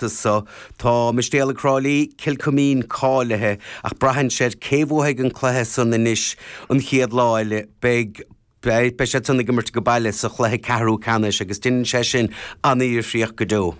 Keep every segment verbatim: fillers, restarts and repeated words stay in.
so. Tá Mistéalaigh Thrá Lí, Cill Chuimín cáilithe, ach braitheann sé cé bhuafaidh an cluiche san anois an chéad lá eile. Beidh beidh siad san ag imirt go baile sa chluiche ceathrú ceannais agus déanann sé sin an-difríocht go deo.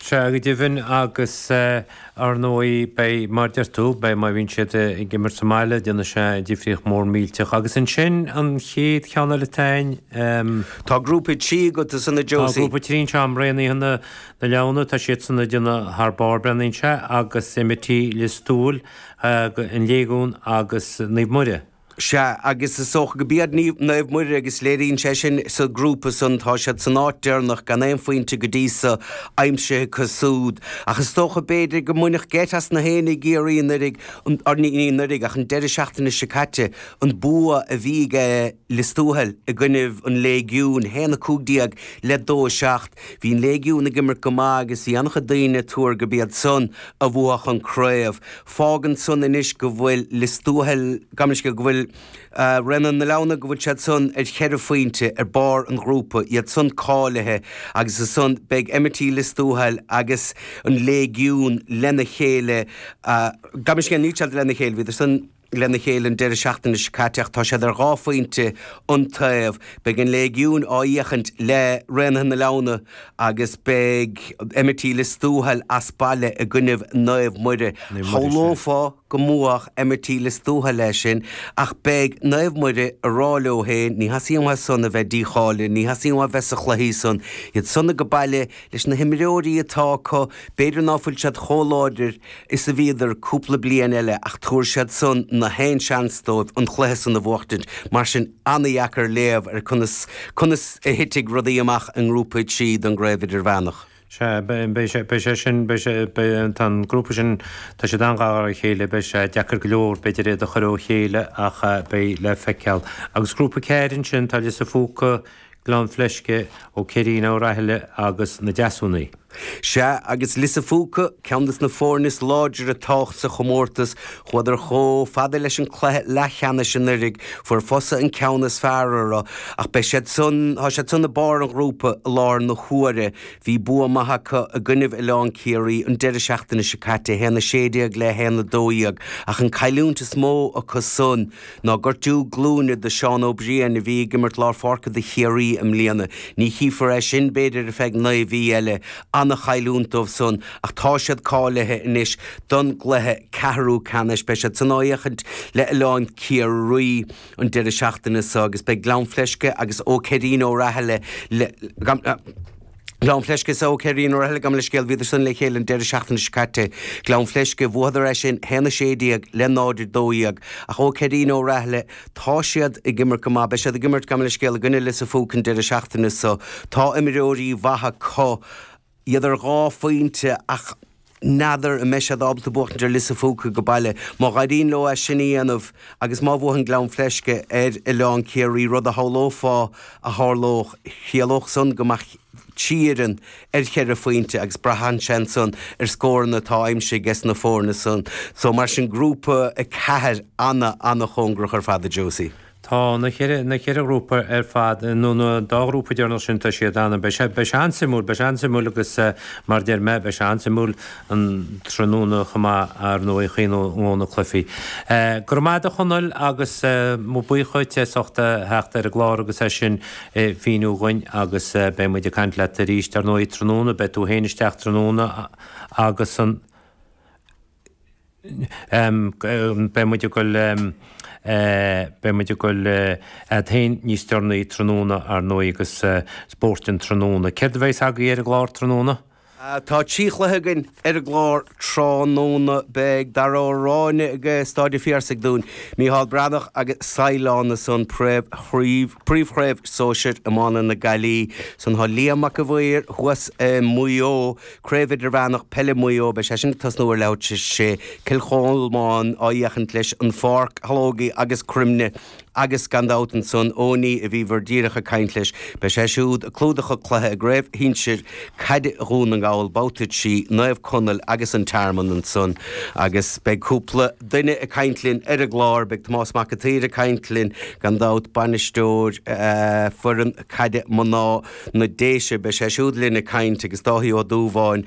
Sea, go deimhin, agus ar ndóigh beidh, mar deir tú, beidh má bhíonn siad ag imirt sa mbaile, déanfaidh sé difríocht mór millteach. Agus ansin an chéad cheann eile atá ann. Tá grúpa trí agat ansan a Josie. Tá grúpa trí anseo, Raonaithe na Leamhna, tá siad san ag déanamh thar barr, breathnaíonn sé, agus M I T Lios Tuathail, an Léigiún agus Naomh Muire. Sea, agus is dócha go b'iad Naomh Muire agus léiríonn sé sin sa ghrúpa san, tá siad san áit deireanach gan aon phointe go dtí so aimsithe acu súd. Ach is dócha b'fhéidir go mbainfeadh geit as na héinne i gCiarraí anuraidh, or ní anuraidh ach an deireadh seachtaine seo caite, an bua a bhí ag Lios Tuathail i gcoinnibh an Léigiúin, haon a cúig déag le dó a seacht. Bhí an Léigiún ag imirt go maith agus bhí an-chuid daoine ag tuar go b'iad san a bhuafadh an craobh. Fágann san anois go bhfuil Lios Tuathail, gabh mo leithscéal, go bhfuil Raonaithe na Leamhna, go bhfuil siad san ar cheithre phointe ar barr an ghrúpa, iad san cáilithe, agus ansan beidh M I T Lios Tuathail agus an Léigiún lena chéile, gabh mo leithscéal, níl siad lena chéile, bhíodar san lena chéile an deireadh seachtaine seo caite ach tá siad ar dhá phointe an taobh. Beidh an Léigiún á fhéachaint le Raonaithe na Leamhna agus beidh M I T Lios Tuathail as baile i gcoinnibh Naomh Muire. Shamhlófá go mbuafadh M I T Lios Tuathail é sin ach beidh Naomh Muire a rá leo féin, ní theastaíonn uathu san a bheith dícháilithe, ní theastaíonn uathu bheith sa chluichí san, iad san ag baile leis na himreoirí atá acu, b'fhéidir ná fuil siad chomh láidir is a bhíodar cúpla bliain eile ach tabharfaidh siad san na haon seans dóibh an chluiche san a bhuachtaint. Mar sin an-dheacair léamh ar conas conas a thitfidh rudaí amach i ngrúpa a trí don gcraobh idirmheánach. Sea, beidh sé, beidh sé sin, beidh sé, beidh, tá an grúpa sin, tá siad an-ghar dá chéile, beidh sé deacair go leor, b'fhéidir iad a chur ó chéile ach beidh le feiceáil. Agus grúpa ceathair ansin, tá Lios a' Phúca, Gleann Fleisce, Ó Ceirín Ó Rathaille agus na Deasúnaí. Sea, agus Lios a' Phúca, ceann des na foirne is láidre atá sa chomórtas, chuadar chomh fada leis an cluiche leathcheannais anuraidh, fuair Fosa an ceann is fearr orthu, ach beidh siad san, tá siad san i barr an ghrúpa i láthair na huaire. Bhí bua maith acu i gcoinnibh Oileán Ciarraí an deireadh seachtaine seo caite, haon a sé déag le haon a dó dhéag, ach an cailliúint is mó acu san ná gortú glúine do Seán Ó Briain a bhí ag imirt lár pháirce do Chiarraí i mbliana. Ní chífear é sin b'fhéidir ar feadh naoi mhí eile. An-chailliúint dóibh san ach tá siad cáilithe anois don gcluiche ceathrú ceannais. Beidh siad san á fhéachaint le Oileán Ciarraí an deireadh seachtaine seo agus beidh Gleann Fleisce agus Ó Ceirín Ó Rathaille le Gleann Fleisce is Ó Ceirín Ó Rathaille, gabh mo leithscéal, bhíodar san le chéile an deireadh seachtaine seo caite. Gleann Fleisce, bhuadar é sin haon a sé déag le náid a dó dhéag. Ach Ó Ceirín Ó Rathaille, tá siad ag imirt go maith. Beidh siad ag imirt, gabh mo leithscéal, i gcoinne Lios a' Phúca an deireadh seachtaine seo. Tá imreoirí mhaithe acu, iad ar dhá phointe ach n'fheadar an mbeidh siad ábalta buachtaint ar Lios a' Phúca go baile. Má dh'éiríonn leo é sin a dhéanamh agus má bhuann Gleann Fleisce ar Oileán Ciarraí, rud a shamhlófá a tharlódh, chiallódh san go mbeadh trí fhoireann ar cheithre phointe agus braitheann sé ansan ar scóranna atá aimsithe ages na foirne san. So mar sin grúpa a ceathair ana ana-chóngarach ar fad a Josie. Tá na ceithre, na ceithre ghrúpa ar fad, nó na dá ghrúpa deireanach sin, tá siad ana, beidh sé, beidh sé an-suimiúil, beidh sé an-suimiúil agus mar a deir mé, beidh sé an-suimiúil an tráthnóna chomh maith, ar ndóigh, chaon ó na cluichí. Go raibh maith agat a Chonaill agus mo buíochas dhuit as ucht a theacht ar an gclár agus é sin a mhíniú dhuinn agus beidh muid ag caint leat arís, ar ndóigh, tráthnóna, beidh tú féin isteach tráthnóna agus an. Beidh muid ag dul, beidh muid ag dul agat féin níos deireanaí tráthnóna, ar ndóigh, agus spóirt an tráthnóna. Céard a bheas agaibh ar an gclár tráthnóna? Tá trí chluiche againn ar an gclár tráthnóna. Beidh Dara Ó Ráinne ag Staid an Phiarsaigh dúinn, Mícheál Breathnach agus Saighleán ansan, Príomhchraobh Sóisir Iomána na Gaillimhe. Ansan tá Liam Mac a' Mhaoir thuas i Maigh Eo. Craobh Idirmheánach Peile Mhaigh Eo, beidh sé sin ag tosnú ar leathuair tar éis a sé, Cill Cholmáin á fhéachaint leis An Pháirc Shológie agus Croimne agus gan dabht ansan Eoiní a bhíobhair díreach ag caint leis, beidh sé siúd ag clúdach an cluiche i gCraobh Shinsir Caide Dhún na nGall. Gabhal, Babhta trí, Naomh Conaill agus an Tearmann ansan agus beidh cúpla duine ag caint linn ar an gclár, beidh Tomás Mac an tSaoir ag caint linn gan dabht bainisteoir uh, foireann caide mná na Déise beidh sé siúd linn ag caint agus Dáithí Ó Dúbháin